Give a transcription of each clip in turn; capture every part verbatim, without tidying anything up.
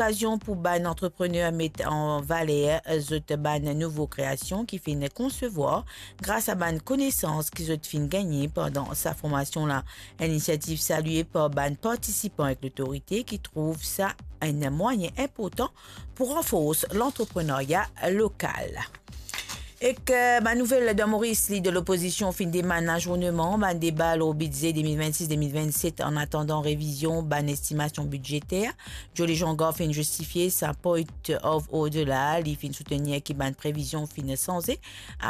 lokazion pou bann antreprener met an valer zot bann nouvo kreasion ki finn konsevwar gras a bann konesans ki zot finn gagne pandan sa formasion la. Enn inisiativ salie par bann partisipan ek lotorite ki trouv sa enn mwayin inportan pou ranfors lantreprenarya lokal. Ek, eh, bann nouvel dan Moris, lider lopozision finn demann azourneman bann deba lor bidze de mil vennsis de mil vennset, an atandan revizion bann estimasion bidzeter. Joe Lejean-Gard finn zistifie sa point of order la, li finn soutenir ki bann previzion finn sanze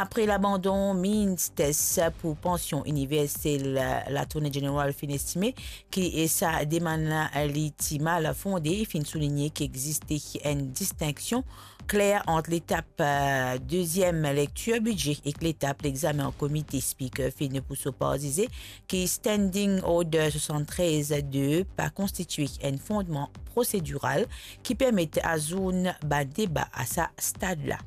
apre labandon Means Test pou pansion iniversel. Lattorney General finn estime ki sa demann la li ti mal fonde, finn souligne ki existe enn distinksion kler ant letap, eh, deziem lektir bidze ek letap lexamen an komite. Speaker finn pou so par zize ki Standing Order swasanntrez de pa konstitue enn fondman prosediral ki permet azourn bann deba a sa stad la.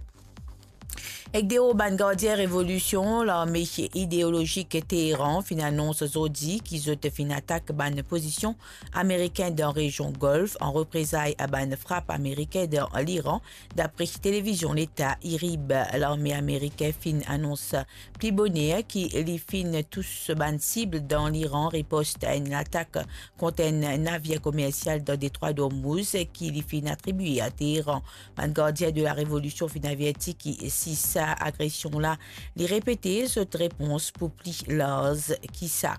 Ek deor bann gardien revolision, larme ideolozik Teheran finn anons zordi ki zot finn atak bann pozision amerikin dan rezion Golf an reprezay a bann frap amerikin dan Liran, dapre televizion leta IRIB. Larme amerikin finn anons pli boner ki li finn tous bann sib dan Liran, ripost a enn latak kont enn navir komersial dan detrwa Dormouz ki li finn atribie a Teheran. Bann gardien de la revolision finn averti ki si sa agresion la li repete, zot repons pou pli larz ki sa.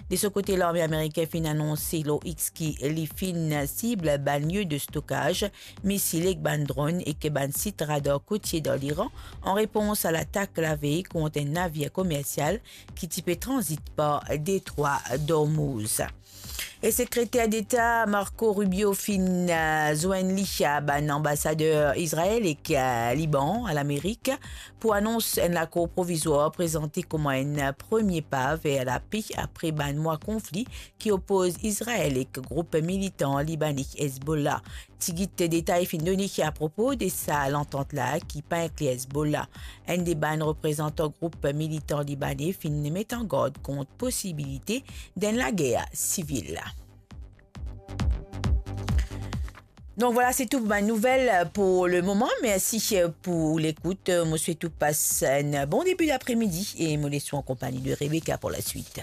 De so kote, larme amerikin finn anonse lor X ki li finn sib bann lie de stokaz misil ek bann dronn ek bann sit radar kotie dan Liran, an repons a latak lavey kont enn navir komersial ki ti pe tranzit par detrwa Dormouz. E Sekreter Deta Marco Rubio finn, eh, zwenn li a bann anbasader Izrael ek, eh, Liban a Lamerik pou anons enn lakor provizwar prezante kouma enn premie pa ver lape apre bann mwa konfli ki opoz Izrael ek group militan libane Hezbollah. Tigit detay finn done apropo de sa lantant la ki pa inkli Hezbollah. Enn de bann reprezantan group militan libane finn met an gard kont posibilite d'enn lager sivil. Donc voilà, c'est tout pour ma nouvelle pour le moment. Merci, euh, pour l'écoute. Euh, mo swet ou pas un bon début d'après-midi et mo les an konpagni de Rebecca pour la suite.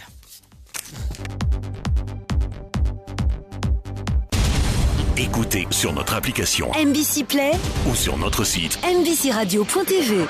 Écoutez sur notre application M B C Play ou sur notre site M B C radio point T V.